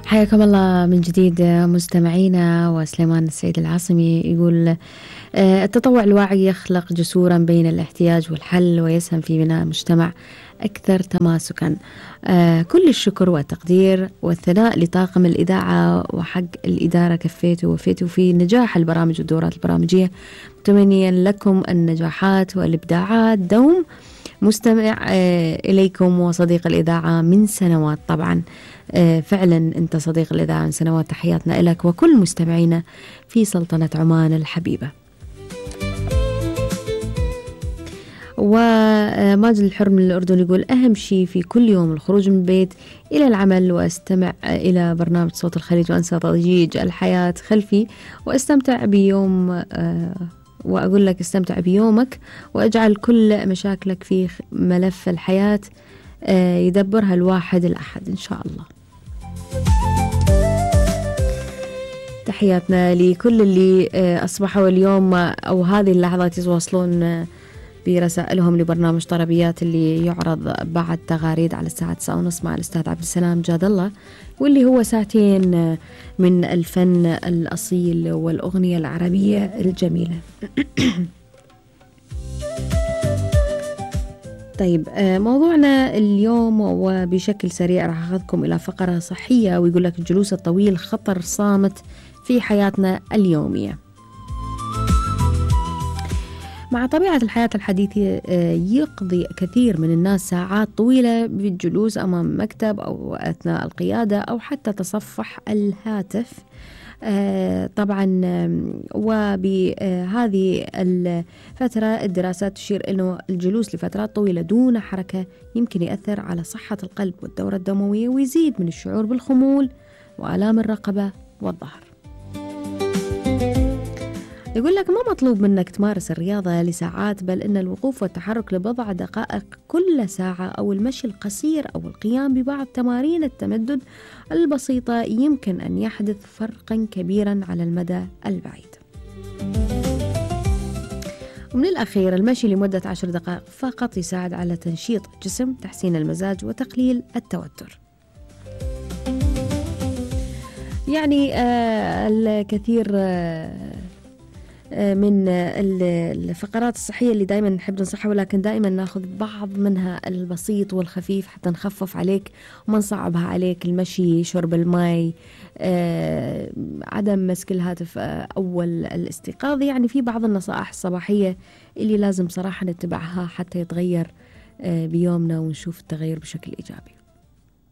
حياكم الله من جديد مستمعينا. وسليمان السيد العاصمي يقول التطوع الواعي يخلق جسورا بين الاحتياج والحل ويسهم في بناء مجتمع أكثر تماسكا. كل الشكر والتقدير والثناء لطاقم الإذاعة وحق الإدارة كفيتوا ووفيتوا في نجاح البرامج والدورات البرامجية، متمنيا لكم النجاحات والإبداعات دوم. مستمع إليكم وصديق الإذاعة من سنوات، طبعا فعلا أنت صديق الإذاعة من سنوات، تحياتنا لك وكل مستمعينا في سلطنة عمان الحبيبة. وماجد الحر من الأردن يقول أهم شيء في كل يوم الخروج من البيت إلى العمل وأستمع إلى برنامج صوت الخليج وأنسى ضجيج الحياة خلفي وأستمتع بيوم وأقول لك استمتع بيومك واجعل كل مشاكلك في ملف الحياة يدبرها الواحد الأحد إن شاء الله. تحياتنا لكل اللي أصبحوا اليوم أو هذه اللحظات يتواصلون برسائلهم لبرنامج طربيات اللي يعرض بعد تغاريد على الساعة 9:30 مع الأستاذ عبد السلام جاد الله، واللي هو ساعتين من الفن الأصيل والأغنية العربية الجميلة. طيب موضوعنا اليوم وبشكل سريع راح أخذكم إلى فقرة صحية، ويقول لك الجلوس الطويل خطر صامت في حياتنا اليومية. مع طبيعة الحياة الحديثة يقضي كثير من الناس ساعات طويلة بالجلوس أمام مكتب أو أثناء القيادة أو حتى تصفح الهاتف. طبعا وبهذه الفترة الدراسات تشير أنه الجلوس لفترات طويلة دون حركة يمكن يأثر على صحة القلب والدورة الدموية ويزيد من الشعور بالخمول وآلام الرقبة والظهر. يقول لك ما مطلوب منك تمارس الرياضة لساعات، بل إن الوقوف والتحرك لبضع دقائق كل ساعة أو المشي القصير أو القيام ببعض تمارين التمدد البسيطة يمكن أن يحدث فرقا كبيرا على المدى البعيد. ومن الأخير المشي لمدة 10 دقائق فقط يساعد على تنشيط الجسم، تحسين المزاج وتقليل التوتر. يعني الكثير من الفقرات الصحية اللي دائما نحب ننصحها، ولكن دائما ناخذ بعض منها البسيط والخفيف حتى نخفف عليك وما نصعبها عليك. المشي، شرب الماء، عدم مسك الهاتف أول الاستيقاظ. يعني في بعض النصائح الصباحية اللي لازم صراحة نتبعها حتى يتغير بيومنا ونشوف التغير بشكل إيجابي.